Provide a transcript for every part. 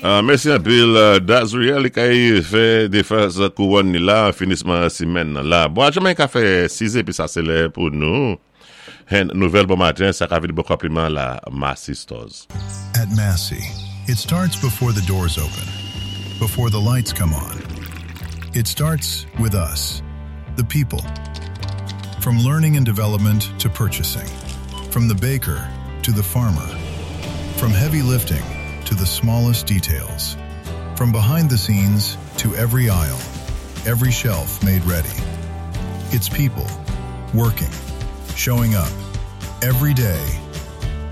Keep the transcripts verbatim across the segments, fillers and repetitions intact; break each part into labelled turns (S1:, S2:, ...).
S1: Uh, mèsi anpil, Dazriel li kay fè defans kouwòn ni la, finisman simèn nan la. Bon, a Jamayik ka fè siz è, epi sa se lè pou nou. Hen, nouvèl bon maten, sa ka vini bon konpliman la Massy Stores.
S2: At Massy, it starts before the doors open, before the lights come on. It starts with us, the people. From learning and development to purchasing, from the baker to the farmer, from heavy lifting to the smallest details, from behind the scenes to every aisle, every shelf made ready. It's people working, showing up every day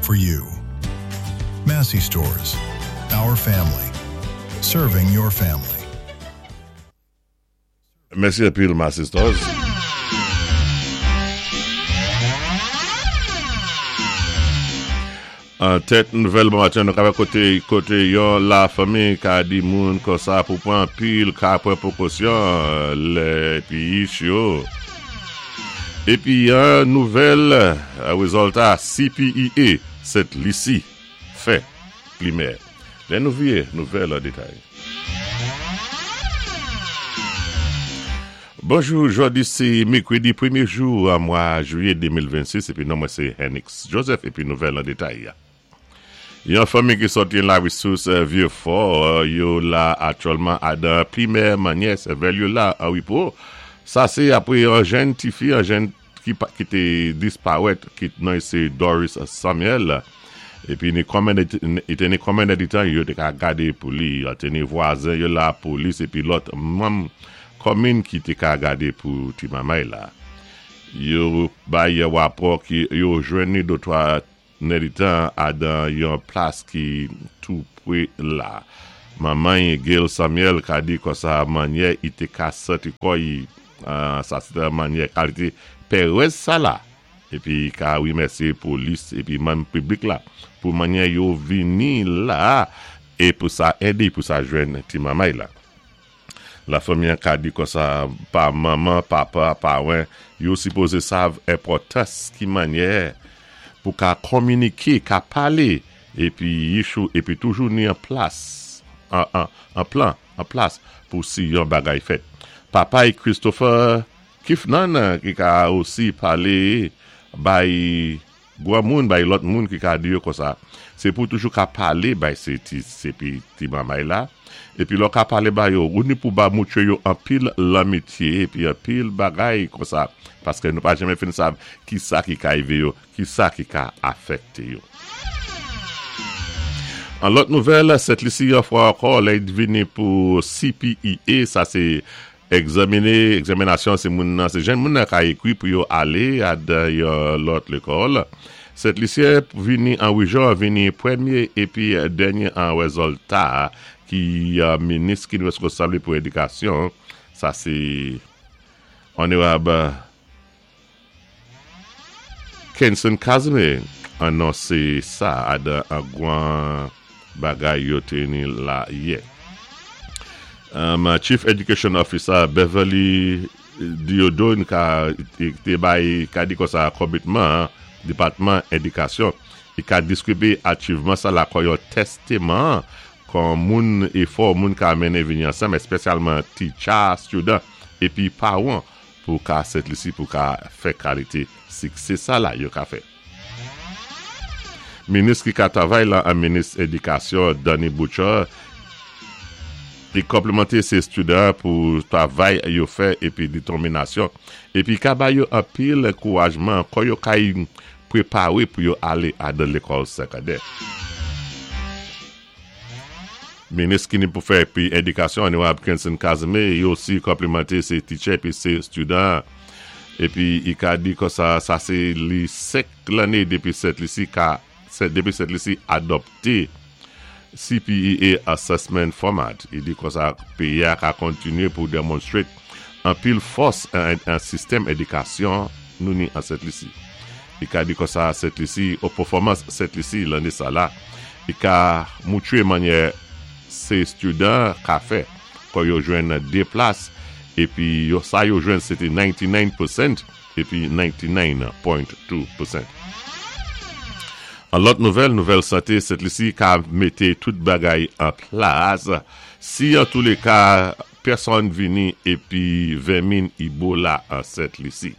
S2: for you. Massy Stores, our family, serving your family.
S1: Mèsi anpil Massy Stores. An tèt nouvèl bon maten nou ka wè koté koté yon la fanmi ka di moun konsa pou pran pil ka pran pwekosyon lè epi yo. Epi yon nouvèl wézilta C P E A Sent Lisi fè plimè. Lè nou vié nouvèl an détay. Bonjou, jòdi sé mèkwédi pwémyé jou an mwa jwiyé de mil vennsis épi non mwen sé Henix Joseph épi nouvèl an détay. Yon fanmi ki sòti la Resous Vieux Fort, yo la aktyèlman adan plimè manyè sèvèl yo la an wipo. Sa sé apwé yon jenn ti fi, yon jenn ki, ki té disparèt, ki non sé Doris Samuel. Épi ni konmen té ni konmen ditan yo té ka gadé pou li, té ni vwazen yo la polis épi lòt manm komin ki té ka gadé pou ti mamay la. Yo bay yon wapò ki yo jwenn ni dotwa nèditan adan yon plas ki tou pwé la. Manman Gail Samuel ka di konsa manyè i té ka santi kò i, uh, sa sé manyè kalité pèrèz sa la. Épi ka wimèsyé polis épi manm piblik la pou manyè yo vini la é pou sa édé pou sa jwenn ti mamay la. La fanmi an ka di konsa pa manman, papa, pawan, yo sipozé sav enpòtans ki manyè pou ka kominiké, ka palé, épi yichou, épi toujou ni an plas, an, an, an plan, an plas pou si yon bagay fèt. Papa yi Christopher Kifnan ki ka osi palé bay gwa moun, bay lòt moun ki ka di yo konsa. Sé pou toujou ka palé bay sé ti, sé pi ti mamay la. Épi lò ka palé ba yo, ou ni pou ba moutwé yo anpil lanmityé, épi anpil bagay konsa, paské nou pa janmen fin sav ki sa ki ka ivé yo, ki sa ki ka afèkté yo. An lòt nouvèl, Sent Lisi yon fwa ankò, lè y vini pou C P E A, sa sé egzaminé, egzaminasyon sé moun nan, sé jenn moun nan ka ékwi pou yo alé adan yon lòt lékòl. Sent Lisyen vini an wijò, vini pwémyé épi dènyé an wézilta ki uh, minis ki wéskonsab pou édikasyon, sa sé Onorab Kenson Casimir anonsé sa adan an gwan bagay yo téni la yè. Um, Chief Education Officer Beverly Diodone ka té bay ka di konsa komitman depatman édikasyon i ka diskribé achivman sa la kon yon tèstaman kon moun éfò moun ka mennen vini ansanm, espésyalman teacher, student épi pawan pou ka Sent Lisi pou ka fè kalité siksé sa la yo ka fè. Minis ki ka travay la an minis édikasyon Danny Butcher li konplimanté sé student pou travay yo fè épi détèminasyon épi ka ba yo anpil ankourajman kon yo kay préparé pou yo alé adan lékòl sékondè. Minis ki ni pou fè pi édikasyon Onorab Kenson Casimir yo osi konplimanté sé teacher épi sé student épi i ka di konsa sa sé li senk lanné dépi Sent Lisi ka dépi Sent Lisi adopté C P E A Assessment Format. I di konsa péyi a ka kontinyé pou demonstrate anpil fòs an, an sistèm édikasyon nou ni an Sent Lisi. I ka di konsa Sent Lisi, ou pèfòmans Sent Lisi lanné sa la, i ka moutwé manyè sé student ka fè kon yo jwenn dé plas épi yo, sa yo jwenn sé té katrevennkèz pousan épi katrevennkèz pwen de pousan. An lòt nouvèl, nouvèl santé, Sent Lisi ka mété tout bagay an plas. Si an tou lé ka, pèsonn vini épi vèmin Ebola an Sent Lisi.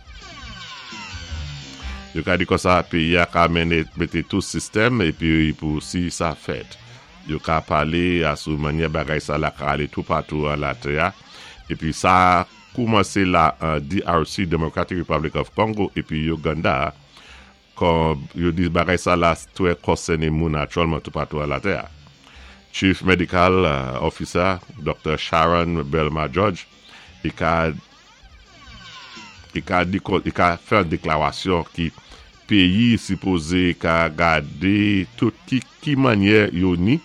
S1: Yo ka di konsa, péyi-a ka mennen mété tout sistèm épi pou si sa fèt. Yo ka palé asou mannyè bagay sa la ka alé toupatou an latè épi sa koumansé la an D R C, Democratic Republic of Congo, épi Uganda. Kon yo di bagay sa la twè konsèné moun aktyèlman toupatou an latè. Chief Medical uh, Officer Doctor Sharon Belma George i ka i ka di i ka fè yon déklarasyon ki péyi sipozé ka gadé tout ki ki mannyè yo ni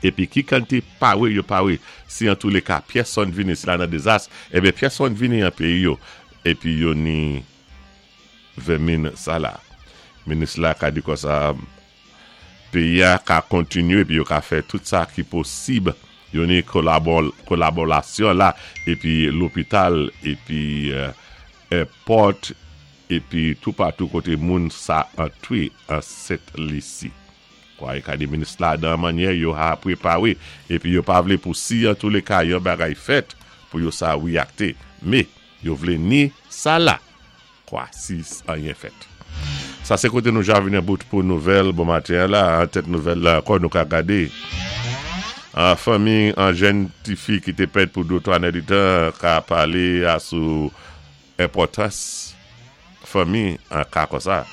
S1: épi ki kantité pawé yo pawé si an tou lé ka pèsonn vini si la nan dézas, ébyen pèsonn vini an péyi yo épi yo ni vèmin sa la. Minis la ka di konsa péyi-a ka kontinyé épi yo ka fè tout sa ki posib, yo ni kolabò, kolaborasyon la épi lopital épi euh, airport épi toupatou koté moun sa antwé an Sent Lisi. Kwa e ka di minis la dan mannyè yo ha pwépawé épi yo pa vlé pou si an tou lé ka yon bagay fèt pou yo sa wiyakté. Mé yo vlé ni sa la kwa si anyen fèt. Sa sé koté nou ja vini an bout pou nouvèl bon maten la, an tèt nouvèl la ankò nou ka gadé. An fanmi an jèn ti fi ki té pèd pou dé twa tan ka palé asou enpòtans fanmi an ka konsa.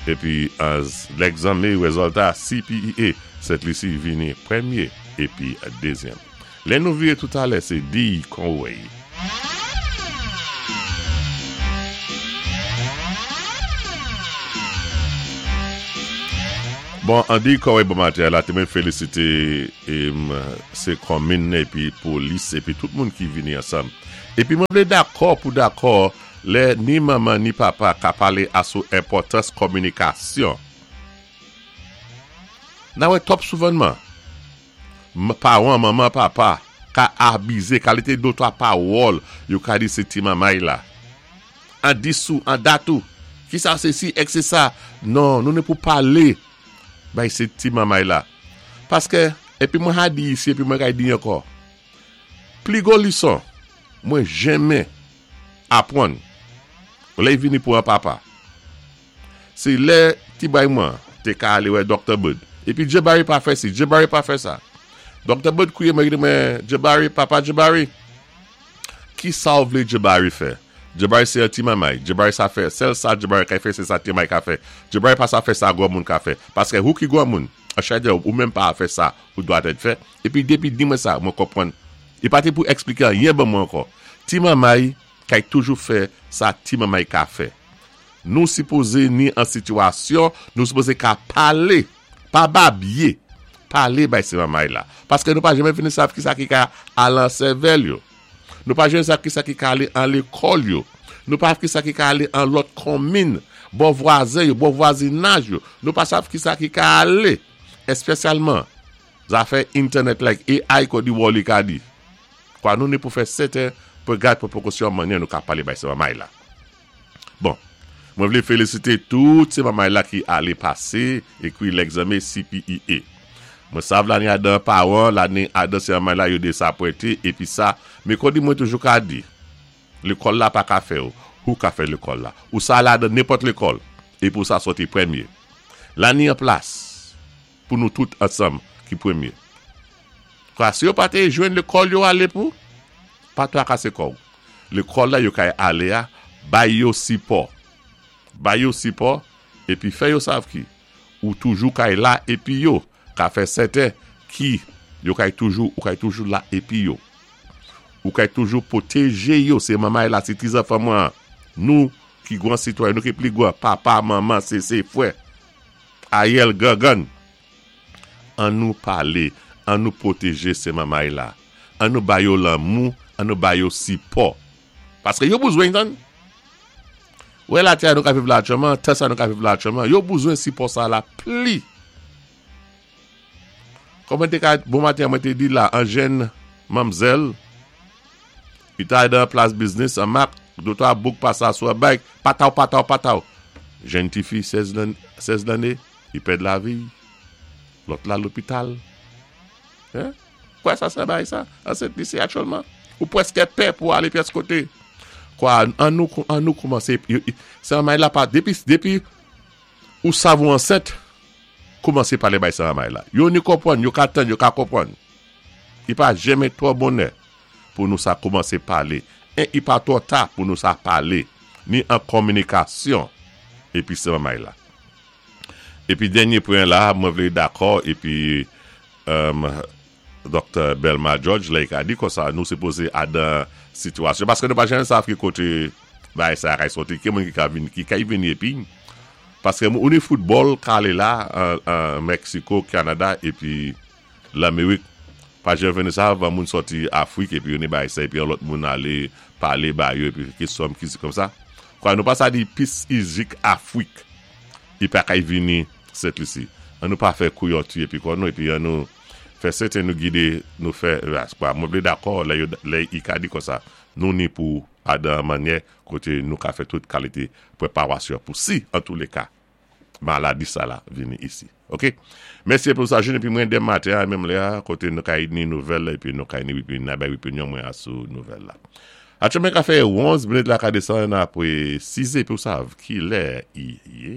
S1: Épi an lègzanmen wézilta C P E A, Sent Lisi vini pwémyé épi dézyèm. Lè nou viré toutalè, sé D. Conway. Bon, Andy Conway bon maten la, té mwen félisité sé konmin épi polis épi tout moun ki vini ansanm. Épi mwen vlé dakò pou dakò lè ni manman ni papa ka palé asou enpòtans kominikasyon. Nan wè twòp souvanman, pawan, manman, papa, ka abizé, kalité dé twa pawòl, yo ka di sé ti mamay la. An disou, an datou, ki sa sé si, ek sé sa. Non, nou ni pou palé, bay sé ti mamay la. Paské, épi mwen ha di isi, épi mwen kay di ankò, pli gwo lison, mwen jenmen apwann, lè vini pou an papa. Sé lè ti bay mwen, té ka alé wè Doctor Bud. Épi Jabari pa fè si, Jabari pa fè sa. Doctor Bud kouye mwen mwen, Jabari, papa Jabari, ki sa ou vlé Jabari fè? Jabari sé yon ti mamay. Jabari sa fè, sèl sa Jabari ka fè, sé sa ti mamay ka fè. Jabari pa sa fè sa gwo moun ka fè. Paské ou ki gwo moun, a chade ou menm pa fè sa ou dwa tèt fè. Épi dépi di mwen sa, mwen konpwann. I pa té pou ekspliké anyen ban mwen ankò. Ti mamay kay toujou fè sa ti mamay ka fè. Nou sipozé ni an sitiyasyon, nou sipozé ka palé, pa babiyé, palé bay sé mamay la. Paské nou pa jenmen vini sav ki sa ki ka al an sèvèl yo. Nou pa jenmen sav ki sa ki ka alé an lékòl yo. Nou pa ki sa ki ka alé an lòt konmin, bò vwazen yo, bò vwazinaj yo. Nou pa sav ki sa ki ka alé. Espésyalman, zafè internet like A I ko di Wally ka di. Kwa nou ni pou fè sèten pou gad pou pwékosyon mannyè nou ka palé bay sé mamay la. Bon, mwen vlé félisité tout sé mamay la ki alé pasé ékwi lègzanmen C P E A. Mwen sav lanni adan pawan, lanni adan sé mamay la yo désapwénté, épi sa, mé kon di mwen toujou ka di, lékòl la pa ka fè ou, ou ka fè lékòl la. Ou sa la dan nenpòt lékòl, é pou sa sòti pwémyé. La ni an plas, pou nou tout ansanm ki pwémyé. Kwa si yo pa té jwenn lékòl yo alé pou, pa twakasé kò ou. Lékòl la yo kay alé a, bay yo sipò. Bay yo sipò, épi fè yo sav ki. Ou toujou kay la épi yo. Ka fè sèten ki yo kay toujou, ou kay toujou la épi yo. Ou kay toujou pwotéjé yo, sé mamay la, sé ti zanfan mwen. Nou ki gwan sitwayen, nou ki pli gwan, papa, manman, sé sé fwè. Ayèl gangan. An nou palé, an nou pwotéjé sé mamay la. An nou bay yo lanmou, an nou bay yo sipò. Paské yo bezwen tan. Wè la tè nou ka viv la aktyèlman, tè sa nou ka viv la aktyèlman, yo bezwen sipò sa la pli. Kòman té ka, bon maten mwen té di la, an jèn manmzèl, i ta dan plas biznis, an mak, dé twa bouk pasa sou a bike, pataw, pataw, pataw. Jèn ti fi, sèz lanné, I pèd lavi, lòt la lopital. Hein? Kwa sa sa bay sa? An Sent Lisi aktyèlman. Ou pwèskè pè pou alé pyès koté. Kwa, an nou, an nou koumansé, sa may la pa, dépi, dépi ou sav ou ansent, koumansé palé bay sa may la. Yo ni konpwann, yo ka tann, yo ka konpwann. I pa janmen twò bonè pou nou sa koumansé palé. É i pa twò ta pou nou sa palé. Ni an kominikasyon. Épi sa may la. Épi dènyé pwen la, mwen vlé dakò, épi um, Doktè Belma George la, i ka di konsa nou sipozé adan sitiyasyon. Paské nou pa janmen sav ki koté bay sa kay soti, ki moun ki ka vini, ki kay vini épi. Paské ou ni foutbòl ka alé la, an, an Meksiko, Kanada, épi Lamérik, pa janmen vini sa, va moun soti Afrik, épi yon ni bay sa, épi yon lòt moun alé, palé ba yo, épi ki som, ki si kòm sa. Kwa nou pa sa di pis izik Afrik, i pa kay vini Sent Lisi. An nou pa fè kouyon tu épi kon nou, épi an nou fè sèten nou gidé, nou fè, kwa, mwen vlé dakò, lè, yo, lè i ka di konsa, nou ni pou adan manyè, koté nou ka fè tout kalité pwéparasyon pou si, an tou lé ka, maladi sa la vini isi. Ok? Mèsi pou sa jounen, épi mwen denmen maten, a menm lè a, koté nou kay ni nouvèl, épi nou kay ni épi na bay opinyon mwen a sou nouvèl la. Aktyèlman ka fè onz minit la ka desann apwé sis, épi ou sav ki lè i yé.